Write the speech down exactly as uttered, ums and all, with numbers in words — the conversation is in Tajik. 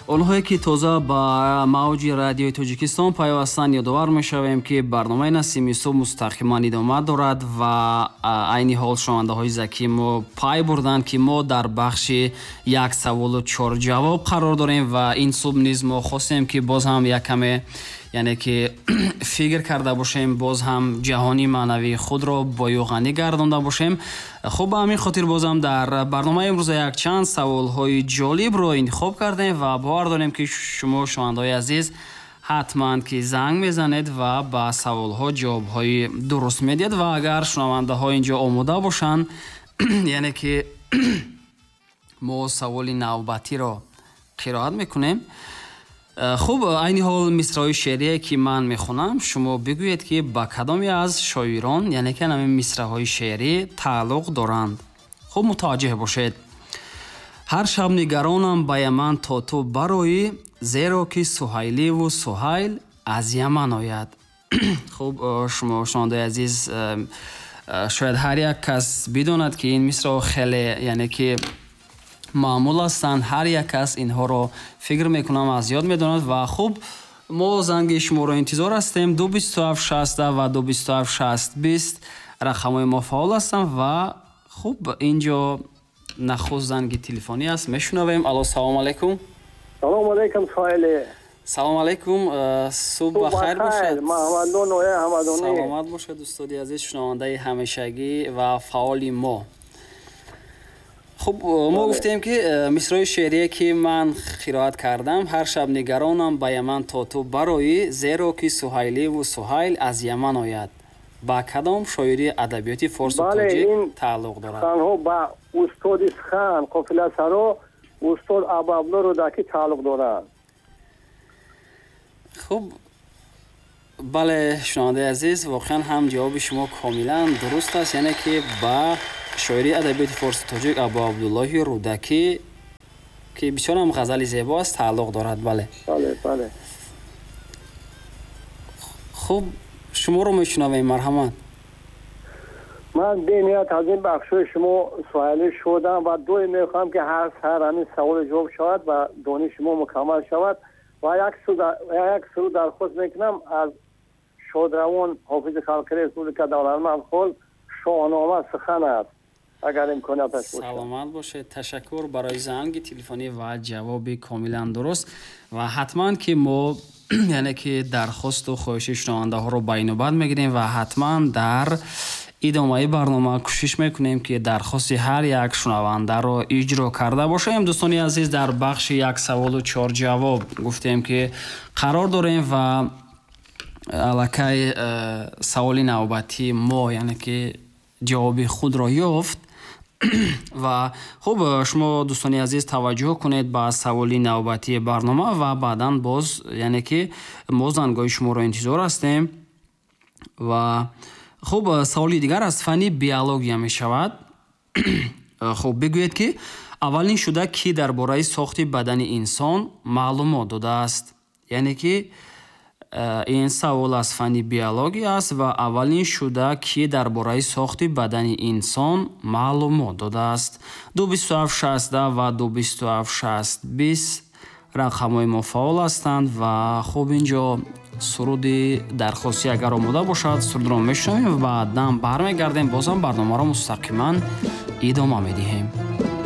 Онҳое ки тоза ба мавҷи радиои Тоҷикистон пайвастанд, ёдовар мешавем, ки барномаи Насими субҳ мустақиман идома дорад ва айни ҳол шунавандаҳои закии мо пай бурданд, ки мо дар бахши як саволу чор ҷавоб қарор дорем ва ин субҳ низ мо хостем, ки боз ҳам як каме, яъне ки фикр карда бошем, боз ҳам ҷаҳони маънавии худро бою ғанӣ гардонда бошем. Хуб, ба ҳамин хотир бозам дар барномаи имрӯза якчанд саволҳои ҷолибро интихоб кардем ва бовар дорем, ки шумо, шунавандаҳои азиз, ҳатман ки занг мезанед ва ба саволҳо ҷавобҳои дуруст медиҳед. Ва агар шунавандаҳо инҷо омода бошанд, яъне ки мо саволи навбатиро қироат мекунем. Хуб, айни ҳол мисраҳои шеърие, ки ман мехонам, шумо бигӯед, ки ба кадоме аз шоирон, яъне ки ҳамин мисраҳои шеърӣ тааллуқ доранд. Хуб, мутаваҷҷеҳ бошед. Ҳар шаб нигаронам ба Яман то ту бароӣ, зеро ки Суҳайливу Суҳайл аз Яман ояд. Хуб, шумо, шунавандаи азиз, шояд ҳар як кас бидонад, ки ин мисраҳо хеле, яъне ки маъмул ҳастанд. Ҳар як кас инҳоро, фикр мекунам, аз ёд медонад. Ва хуб, мо занги шуморо интизор ҳастем. Ду бисту ҳафт шаста ва ду бисту ҳафт шаст бист рақамҳои мо фаъол ҳастанд. Ва хуб, инҷо нахуст занги телефонӣ аст, мешунавем. Алло, салому алайкум. Салому алайкум, Соҳиле. Салому алайкум, субҳ бахайр бошад. Маҳмадон ноя Ҳамадонӣ. Саломат бошад, устоди азиз, шунавандаи ҳамешагӣ ва фаъоли мо. Хуб, мо гуфтем, ки мисраи шеърие, ки ман қироат кардам: ҳар шаб нигаронам ба Яман то ту бароӣ, зеро ки Суҳайливу Суҳайл аз Яман ояд, ба кадом шоири адабиёти форсу тоҷик тааллуқ дорад? Танҳо ба устоди сухан, қофиласаро, устод Абуабдулло Рӯдакӣ тааллуқ дорад. Хуб, бале, шунавандаи азиз, воқеан ҳам ҷавоби шумо комилан дуруст аст, яъне ки ба шоири адабиёти форсу тоҷик Абуабдуллоҳи Рӯдакӣ, ки бисёр ҳам ғазали зебо аст, тааллуқ дорад. Бале. Бале, бале. Хуб, шуморо мешунавем, марҳамат. Ман бениҳоят аз ин бахшҳои шумо суҳайлӣ шудам ва доим мехоҳам, ки ҳар саҳар ҳамин саволи ҷавоб шавад ва дониши мо мукаммал шавад. Ва як суруд дархост мекунам аз шодравон ҳофизи халқи республика Давлатманд Хол, «Шоҳнома сухан аст», агар имконияташ бошад. Саломат бошед, ташаккур барои занги телефонӣ ва ҷавоби комилан дуруст. Ва ҳатман ки мо, яъне ки дархосту хоҳиши шунавандаҳоро ба инобат мегирем ва ҳатман дар идомаи барнома кӯшиш мекунем, ки дархости ҳар як шунавандаро иҷро карда бошем. Дӯстони азиз, дар бахши як саволу чор ҷавоб гуфтем, ки қарор дорем ва аллакай э, саволи навбатии мо, яъне ки ҷавоби худро ёфт. Ва хуб, шумо, дӯстони азиз, таваҷҷӯҳ кунед ба саволи навбатии барнома ва баъдан боз, яъне ки мо зангҳои шуморо интизор ҳастем. Ва хуб, саволи дигар аз фанни биология мешавад. Хуб, бигӯед, ки аввалин шуда кӣ дар бораи сохти бадани инсон маълумот додааст? Яъне ки ин савол аз фанни биология аст ва аввалин шуда кӣ дар бораи сохти бадани инсон маълумот додааст? Ду бисту ҳафт шастда ва ду бисту ҳафт шаст бист рақамҳои мо фаъол ҳастанд. Ва хуб, инҷо суруди дархостӣ агар омода бошад, сурудро мешунавем ва баъдан бармегардем, бозам барномаро мустақиман идома медиҳем.